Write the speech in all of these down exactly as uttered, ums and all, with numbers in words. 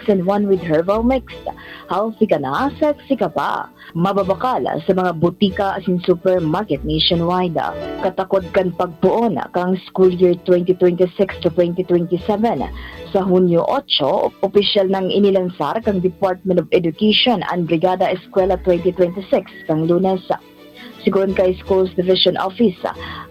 and one with herbal mix. Healthy ka na, sexy ka pa. Mababakal sa mga butika asin supermarket nationwide. Katakod kan pagpoon kan school year twenty twenty-six to twenty twenty-seven. Sa Hunyo otso, opisyal nang inilansar kan Department of Education an Brigada Eskwela twenty twenty-six kan Lunes. Sigon kay Schools Division Office,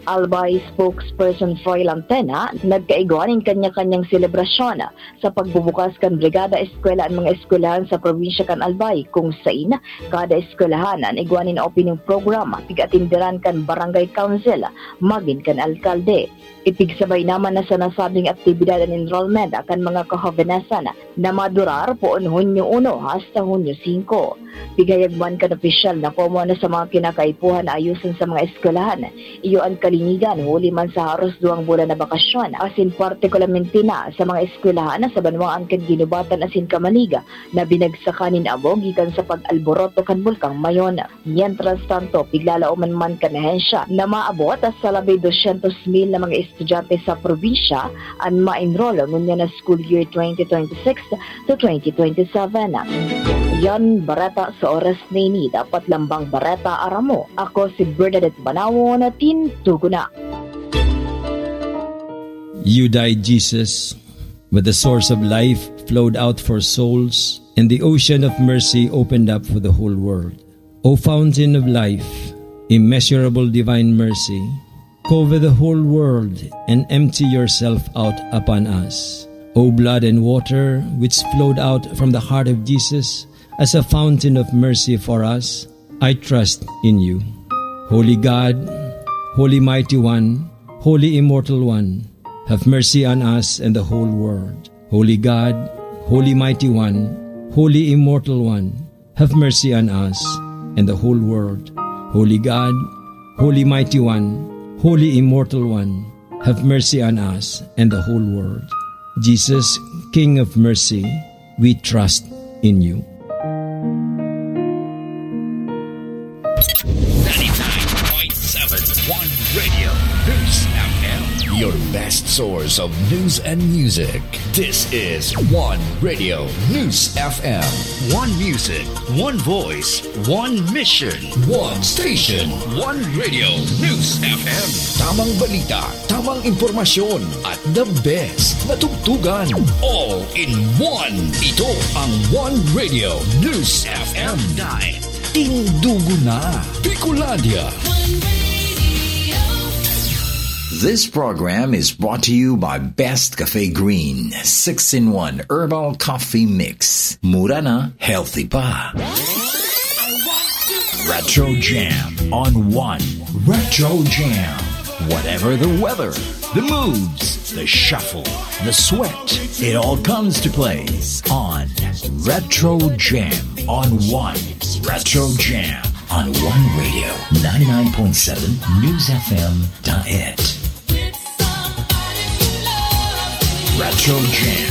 Albay spokesperson Froy Lantena, nagkaigwa nin kanya-kanyang selebrasyon sa pagbubukas kan Brigada Eskwela an mga eskwelahan sa probinsya kan Albay, kung sain kada eskwelahan an igwa nin opening program, pig-atinderan kan barangay council, magin kan alkalde. Ipigsabay naman na sa nasabing aktibidad an enrollment kan mga kahobenesan na madurar poon Hunyo uno hasta Hunyo singko. Pighayag man kan opisyal na komo na sa mga kinakaipuhan na ayoson sa mga eskwelahan, iyo an kalinigan huli man sa haros duwang bulan na bakasyon, asin partikularmente na sa mga eskwelahan na sa banwaan kan Guinobatan asin Camalig na binagsakan nin amo gikan sa pag-alboroto kan Bulkang Mayon. Mientras tanto, piglalaoman man kan ahensya na maabot sa labi dosyentos mil na mga estudyante sa probinsya an ma-enroll ngunyan na school year twenty twenty-six to twenty twenty-seven. Yan bareta sa oras na ini. Dapat lambang bareta, aram mo. Ako si Bernadette Banawon, Tindugo na. You died, Jesus, but the source of life flowed out for souls, and the ocean of mercy opened up for the whole world. O fountain of life, immeasurable divine mercy, cover the whole world and empty yourself out upon us. O blood and water which flowed out from the heart of Jesus as a fountain of mercy for us, I trust in you. Holy God, Holy Mighty One, Holy Immortal One, have mercy on us and the whole world. Holy God, Holy Mighty One, Holy Immortal One, have mercy on us and the whole world. Holy God, Holy Mighty One, Holy Immortal One, have mercy on us and the whole world. Jesus, King of Mercy, we trust in you. Ninety-nine point seven One Radio News F M. Your best source of news and music. This is One Radio News F M. One music, one voice, one mission. One station. One Radio News F M. Tamang balita, tamang impormasyon, at the best na tugtugan. All in one. Ito ang One Radio News F M. Dahil tindugo na. Bicolandia. This program is brought to you by Best Cafe Green, six-in-one Herbal Coffee Mix. Mura na, healthy pa. Retro Jam on One. Retro Jam. Whatever the weather, the moods, the shuffle, the sweat, it all comes to play on Retro Jam on One. Retro Jam on One Radio, ninety-nine point seven News F M Daet. Retro Jam